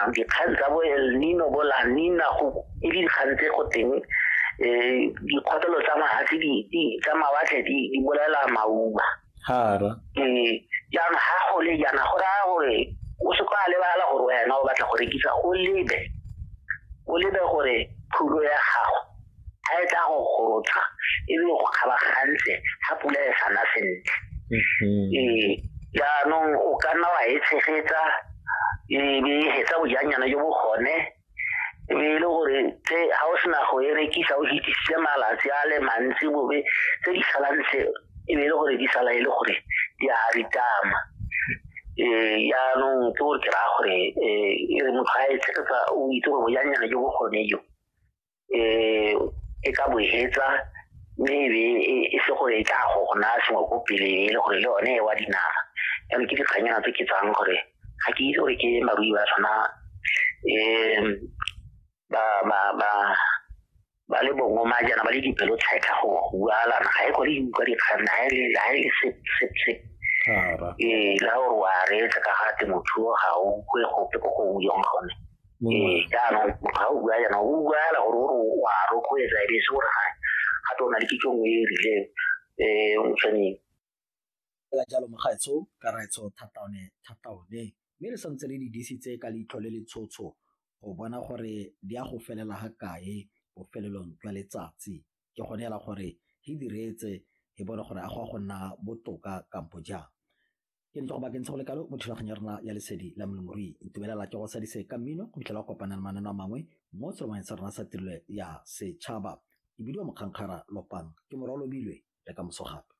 Jang dikgang tsa bo El Nino, bo La Nina, go e le dikgang tse go teng dikgotlelo tsa mafatshe tsa mawatle di bolela mauba. Ee, jaanong ga go le jaana go raya gore o se ka lebala gore wena o batla go rekisa, o lebe gore phulo ya gago ga e tla go gorotsha e be go kgabagantse ga pula e sana sentle. Ee, jaanong o ka nna wa e tshegetsa, e be e hetsa bojanyana jo bo gone, e be e le gore tse ga o sena go e rekisa o hitisitse malatsi a le mantsi, bobe tse di salang tse e be e le gore di sala e le gore di a ritama. Ee, jaanong ke gore ke raya gore e re motho ga e tshegetsa, o itse gore bojanyana jo bo gone jo e ka bo hetsa, mme e be e se gore e tla go naya sengwe ko pele, e le gore le yone e wa dinama. Jaanong ke dikganyana tse ke tsang gore ga ke itse gore ke barui ba tshwana ba ba ba ba le bongoma jaana, ba le dipelo tshetlha go bualana, ga e kgone utlwa dikgang ga e le sep sep sep. Ee, la gore wa reetsa ka ga temothuo ga o kwe gope ko go buiwang gone. Ee, jaanong motho ga o bua jaana o buala gore o wa rotloetsa, e be se gore ga gape o na le kitso nngwe e e rileng motshwaneng. Fela jalo mogaetsho ka raetsho thata one thata one, mme re santse re di disitse ka leitlho le le tshotsho go bona gore di a go felela ga kae bofelelong jwa letsatsi. Ke gone hela gore re di reetse re bone gore a go a go nna botoka kampo jang. Ke ntse go baakantse go le kalo mo thulaganyo ya rona ya Lesedi la Molemirui. Ntumelela ke go sadise ka mmino go fitlhela go kopana le mananeo a mangwe mo seromeng sa rona sa tirelo ya setšhaba. Ke bidiwa Mokgankgara Lopang, ke morwa Lobilwe, le ka moso gape.